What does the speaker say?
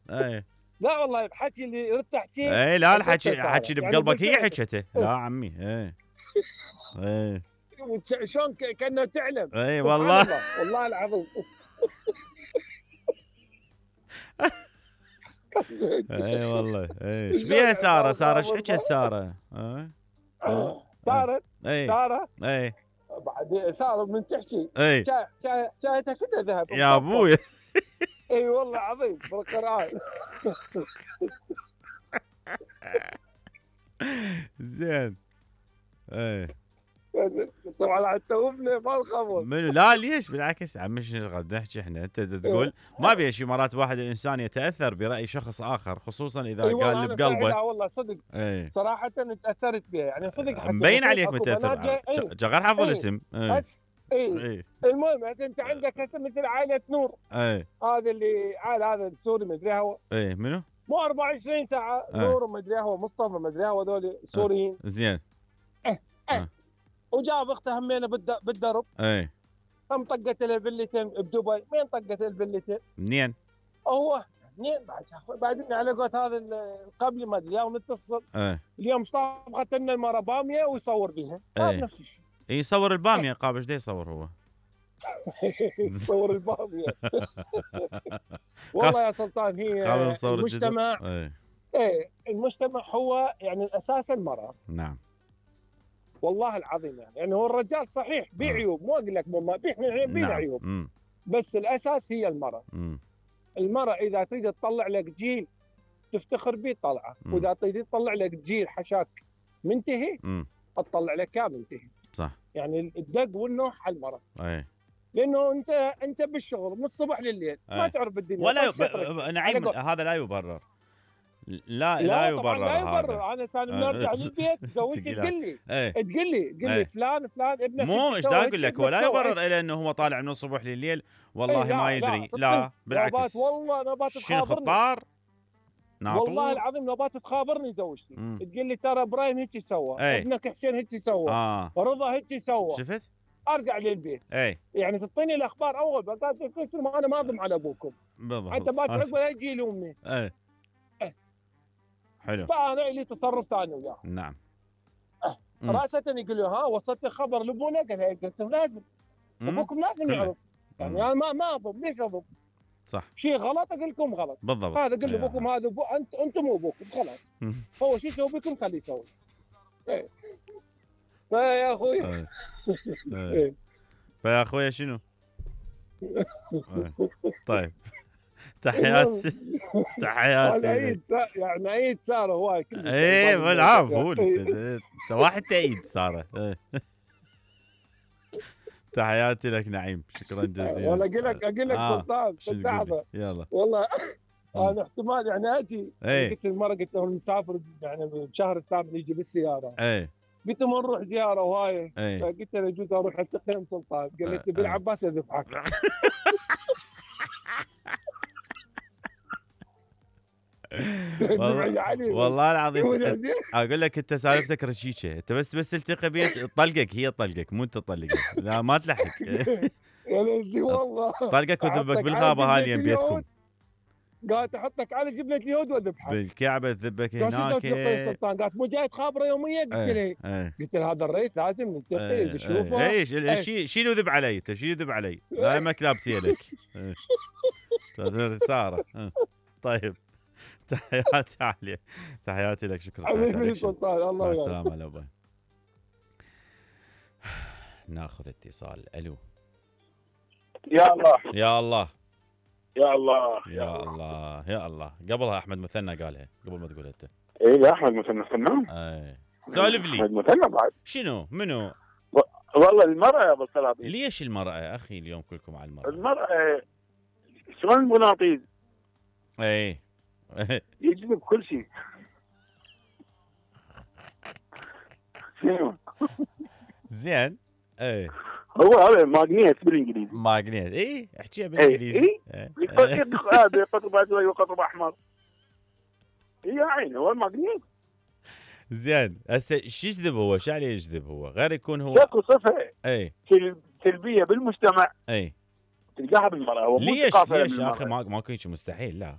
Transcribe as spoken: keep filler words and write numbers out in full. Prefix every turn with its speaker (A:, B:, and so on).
A: اي
B: لا والله الحكي اللي ردت احكيه.
A: اي لا الحكي الحكي اللي
B: يعني
A: بقلبك هي
B: بالفعل.
A: حكته. لا عمي. اي اي
B: وتش- شلون ك- كانه تعلم.
A: اي
B: سبحان
A: والله.
B: الله والله العظيم.
A: اي والله. اي ايش
B: شلون
A: بيها
B: يعني
A: ساره؟
B: ما
A: ساره ايش
B: خابر
A: حكت
B: ما-
A: ساره؟ اي
B: صارت
A: اي
B: ساره
A: اي
B: بعد ساره من تحكي
A: اي
B: شا- شا- شاهتها كلها ذهب
A: يا ابوي.
B: اي والله عظيم بالقران.
A: زين. اي
B: طبعا حتى ابني ما الخبر.
A: منو؟ لا ليش بالعكس عمي شنو قاعد نحكي احنا؟ انت تقول ما بيها شي مرات واحد الانسان يتاثر براي شخص اخر خصوصا اذا
B: اي
A: قال
B: والله
A: اللي
B: انا صحيح
A: بقلبه.
B: لا والله صدق
A: اي
B: صراحه تاثرت بها يعني صدق حكي
A: مبين عليك
B: أكو
A: متاثر.
B: بنات جاي- اي
A: ج- غير حافظ
B: اي
A: الاسم. اي
B: بس اي
A: اي
B: المهم هسه انت عندك هسه مثل عائله نور
A: اي
B: هذا اللي عائله هذا السوري مدري هو
A: اي منو؟
B: مو أربعة وعشرين ساعه
A: أي.
B: نور ومدري هو مصطفى مدري هو هذول سوريين.
A: زين.
B: وجاب اخته همينه بالد- بالدرب
A: اي
B: هم طقت له فيلتين بدبي. مين طقت الفيلتين؟
A: منين؟
B: هو منين بعد بعدين على قولت هذا القبلي ما ادري اليوم نتصل
A: اي
B: اليوم طبخت لنا المره باميه ويصور بها.
A: أي.
B: هذا نفس الشيء.
A: يصور الباميه قابل ايش يصور هو؟
B: يصور الباميه. والله يا سلطان هي
A: قابل مصور
B: المجتمع.
A: اي
B: ايه المجتمع هو يعني الاساس المراه.
A: نعم
B: والله العظيم يعني يعني هو الرجال صحيح بيه عيوب مو اقول لك ما بيه بينا
A: نعم.
B: عيوب
A: مم.
B: بس الاساس هي المراه.
A: مم.
B: المراه اذا تريد تطلع لك جيل تفتخر به طلعه،
A: مم.
B: واذا تريد تطلع لك جيل حشاك منتهي
A: مم.
B: تطلع لك كامل منتهي.
A: صح.
B: يعني الدق والنوح على المراه.
A: اي
B: لانه انت انت بالشغل من الصبح لليل ما
A: أي.
B: تعرف بالدنيا
A: ولا
B: بس
A: ب...
B: شغلك.
A: نعيم
B: على قول-
A: هذا لا يبرر. لا لا,
B: لا
A: يبرر
B: طبعا لا
A: هذا.
B: يبرر. انا سالم
A: آه.
B: نرجع للبيت زوجتي
A: تقول
B: تقول لي
A: ايه
B: تقول لي تقول
A: إيه.
B: لي فلان فلان ابنك
A: مو
B: هيك
A: ايش
B: سوى،
A: دا
B: هيك
A: اقول لك
B: ابنك
A: ولا
B: سوى،
A: يبرر
B: هيك.
A: الى انه هو طالع من الصبح لليل والله
B: إيه لا
A: ما
B: لا
A: يدري.
B: تطل-
A: لا بالعكس.
B: نوبات والله نوبات
A: شنو
B: تخابرني.
A: خطار؟ ناطور.
B: والله العظيم نوبات تخابرني زوجتي.
A: مم.
B: تقول لي ترى ابراهيم هيك سوى،
A: إيه.
B: ابنك حسين هيك سوى،
A: اه
B: رضا هيك سوى.
A: شفت؟
B: ارجع للبيت
A: اي
B: يعني تعطيني الاخبار اول قالت قلت لهم انا ما اضم على ابوكم
A: بالضبط.
B: حتى باكر
A: آه.
B: عقب لا يجي يلومني.
A: اي
B: إيه.
A: حلو.
B: فانا لي تصرف ثاني وياه.
A: نعم. مم.
B: راسة يقول له ها وصلت خبر لابونا؟ قال إيه. قلت له لازم
A: مم.
B: ابوكم لازم
A: كله.
B: يعرف. يعني
A: مم.
B: انا ما ما اضم ليش اضم؟
A: صح.
B: شيء غلط اقول لكم غلط.
A: بالضبط.
B: هذا قل
A: إيه.
B: ابوكم هذا أبو... انت انتم مو ابوكم خلاص.
A: مم.
B: هو شيء يسوي بكم خليه يسوي. ايه فيا اخوي
A: إيه. إيه.
B: إيه.
A: فيا اخويا شنو؟ إيه. طيب تحياتي
B: انا
A: تحياتي.
B: عيد سا... يعني عيد ساره هواي كل شيء.
A: ايه
B: ما
A: بالعافيه
B: يعني.
A: قول انت أنت واحد تعيد ساره. إيه. تحياتي لك نعيم شكرا جزيلا.
B: والله اقول لك اقول لك
A: آه.
B: سلطان
A: شنو
B: لحظه
A: تقول لي؟ يلا.
B: والله انا احتمال يعني اجي.
A: إيه.
B: قلت المره قلت له مسافر يعني بالشهر الثامن يجي بالسياره.
A: ايه
B: قلت له نروح زياره وهاي.
A: ايه
B: قلت له يجوز اروح التقي سلطان. قال لي تبي العباس اذبحك.
A: والله, والله العظيم اقول لك انت سالفتك رشيشه. انت بس بس تلتقي بيه طلقك هي طلقك مو انت طلقك. لا ما تلحق.
B: يا ليدي والله
A: طلقك وذبك بالغابه هالي بيتكم.
B: قالت احطك على جبنه اليهود واذبحك
A: بالكعبه تذبك
B: هناك.
A: هناك.
B: سلطان قالت مو جاي تخابره يوميه؟ قلت
A: ايه.
B: له
A: ايه.
B: قلت له هذا الرئيس لازم نلتقي نشوفه.
A: اي شيل شيل وذب علي انت شيل وذب علي لا ما كلابتي لك. ساره. طيب تحياتي عليه تحياتي لك شكرا.
B: حبيبي سلطان الله
A: مع
B: يسلمك.
A: السلامه على باي. ناخذ اتصال. الو.
C: يا الله
A: يا الله
C: يا الله
A: يا الله يا الله. قبلها احمد مثنى قالها قبل ما تقول انت.
C: ايه يا احمد مثنى فنان.
A: اي سولف لي.
C: احمد مثنى بعد
A: شنو منو؟
C: والله المرأة يا ابو السلاطين.
A: ليش المرأة يا اخي اليوم كلكم على المرأة؟
C: المرأة شلون المناطيد
A: اي
C: يجذب كل شيء. شنو؟
A: زين. اي
C: هو هذا ماغنيت بالانجليزي.
A: ماغنيت. اي احكيها بالانجليزي.
C: اي
A: إيه.
C: هذا قطب اسود وقطب احمر. يا عيني هو الماغنيت.
A: زين هسه شو يجذب هو؟ شو عليه يجذب هو؟ غير يكون هو
C: اكو صفة
A: اي
C: سلبية بالمجتمع
A: اي
C: تلقاها بالمرأة.
A: ليش ليش يا اخي؟ ما ماكو شيء مستحيل. لا